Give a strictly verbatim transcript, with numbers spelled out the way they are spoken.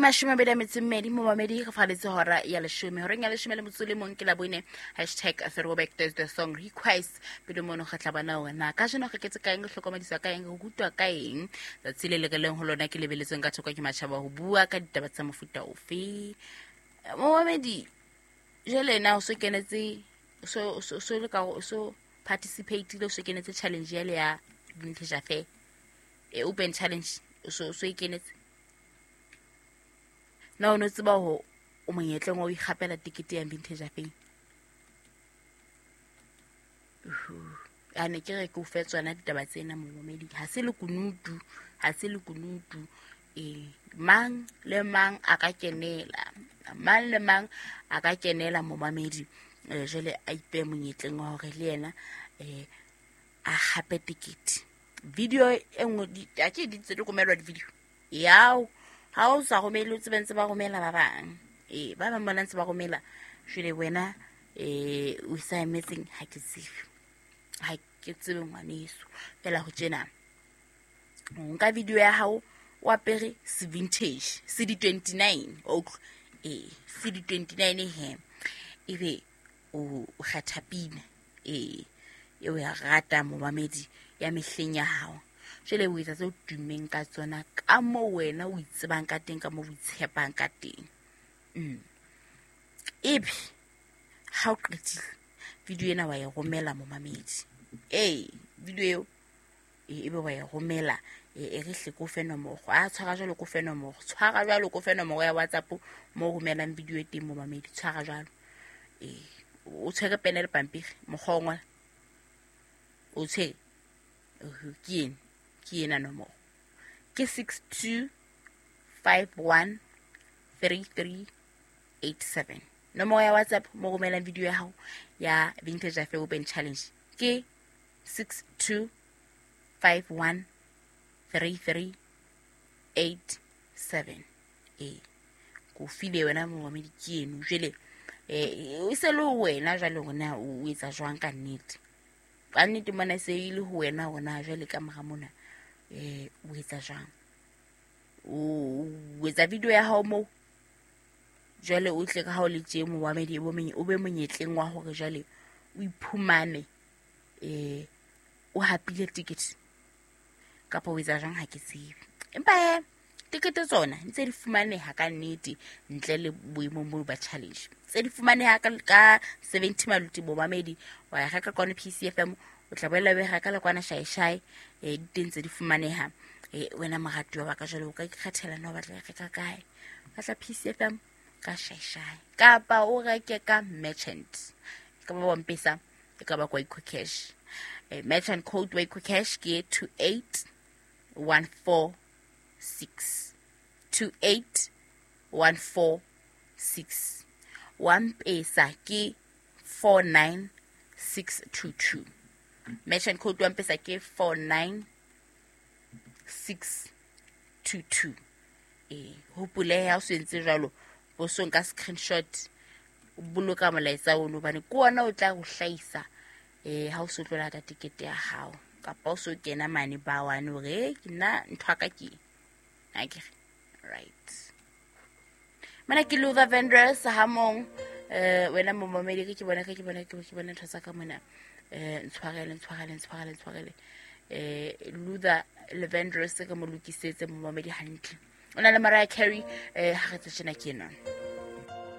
mashome a mabedi a metso e mmedi momamedi re faletse hora ya leshome horeng ya leshome le motso le mong ke la bone hashtag throwback Thursday song request pele mono re tla bona hore na kajeno re ketse ka eng re hlokomediswa ka eng re rutwa ka eng tsatsi le le re leng ho lona ke lebeletsweng ka thoko ke matjhaba ho bua ka ditaba tsa mofuta ofe momamedi jwale na o so kenetse so so so le ka so participate le so kenetse challenge ya le ya Vintage Affair e open challenge so so e kenetse na o no tseba ho o monyetleng wa ho ikgapela tikete ya Vintage Affair a ne ke re ke o fe tsona ditaba tsena momamedi ha se lekunutu ha se lekunutu e mang le mang a ka kenela mang le mang a ka kenela momamedi eh jwale a ipe monyetleng wa hore le yena eh a hape tikete video e nngwe a ke di tse di romelwa di-video yao ha o sa romele o tsebe ntse ba romela ba bang ee ba bang bona ntse ba romela jwale wena eh o sa emetseng ha ke tsebe ha ke tsebe ngwaneso fela ho tjena o nka video ya hao o apere se vintage se di twenty-nine o eh se di twenty-nine he ebe o kgetha pina ee eo ya rata momamedi ya mehleng ya hao jwale o etsa tseo tummeng ka tsona ka moo wena o itsebang ka teng ka moo o itshepang ka teng mm ebe ha o qetile video ena wa e romela momamedi ee video eo ebe wa e romela e re hle ko fe nomoro a tshwara jwalo ko fe nomoro tshwara jwalo ko fe nomoro ya WhatsApp mo romelang video e teng momamedi tshwara jwalo ee o tshwere pene le pampiri mokgwa o ngola o tshwere ke ena ke ena nomoro ke six two five one three three eight seven nomoro ya WhatsApp mo romelang video ya hao ya Vintage Affair Open Challenge ke six two five one three three eight seven ee ko file wena momamedi ke eno jwale eh o se le wena jwale hore na o etsa jwang ka nnete ka nnete mona se ile ho wena hona jwale ka mora mona eh o etsa jwang o etsa video ya hao mo jwale o tle ka ha o le tje momamedi o be monyetleng wa hore jwale o iphumane eh o hapile ticket kapa o etsa jwang ha ke tsebe empa tikete tsona ntse di fumaneha ka nnete ntle le boemong bo ba challenge tse di fumaneha ka ka seventy maluti momamedi wa ya reka kwana P C F M o tla boela o reka le kwana Shaishai eh di teng tse di fumaneha eh wena moratuwa wa ka jwale o ka ikgethela na o batla reka kae batla P C F M ka Shaishai kapa o reke ka merchant ka ba wa Mpesa e ka ba kwa EcoCash eh merchant code wa EcoCash ke two eight one four six two eight one four six one pesa ke four nine six two two merchant code one pesa ke four nine six two two eh hopole ha o sentse jwalo bo so nka screenshot o boloka molaetsa ono bane ke wona o tla go hlaisa eh ha o so tlola ka tikete ya hao kapa o so kena mane ba wane hore ke nna ntho ka ke akere right mana ke Luther Vandross ha mong eh wena momamedi ke bona ke bona ke bona ntho tsa ka mona eh ntshwarele ntshwarele ntshwarele ntshwarele eh Luther Vandross ke mo lokisetse momamedi hantle o na le Mariah Carey eh ha re tsena ke ena.